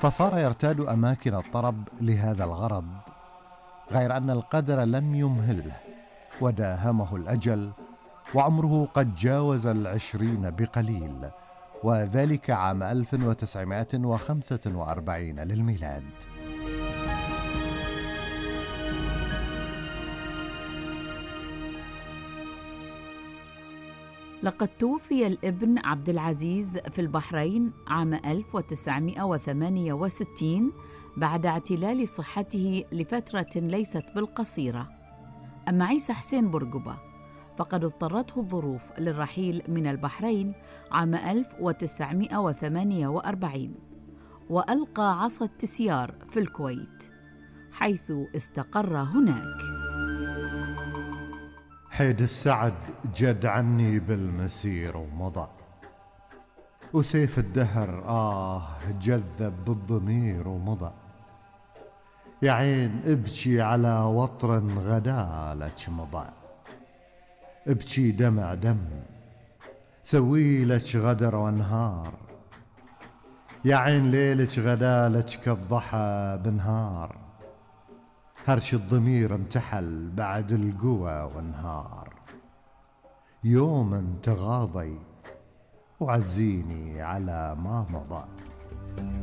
فصار يرتاد أماكن الطرب لهذا الغرض، غير أن القدر لم يمهله وداهمه الأجل، وعمره قد جاوز 20 بقليل، وذلك عام 1945 للميلاد. لقد توفي الابن عبد العزيز في البحرين عام 1968 بعد اعتلال صحته لفترة ليست بالقصيرة. أما عيسى حسين بورقبة فقد اضطرته الظروف للرحيل من البحرين عام 1948، وألقى عصا التسيار في الكويت حيث استقر هناك. حيد السعد جد عني بالمسير ومضى، وسيف الدهر جذب بالضمير ومضى. يا عين ابكي على وطر غدالك مضى، ابكي دمع دم سويلك غدر وانهار. يا عين ليلك غدالك كالضحى بنهار، هرش الضمير انتحل بعد القوى وانهار. يوم تغاضي وعزيني على ما مضى.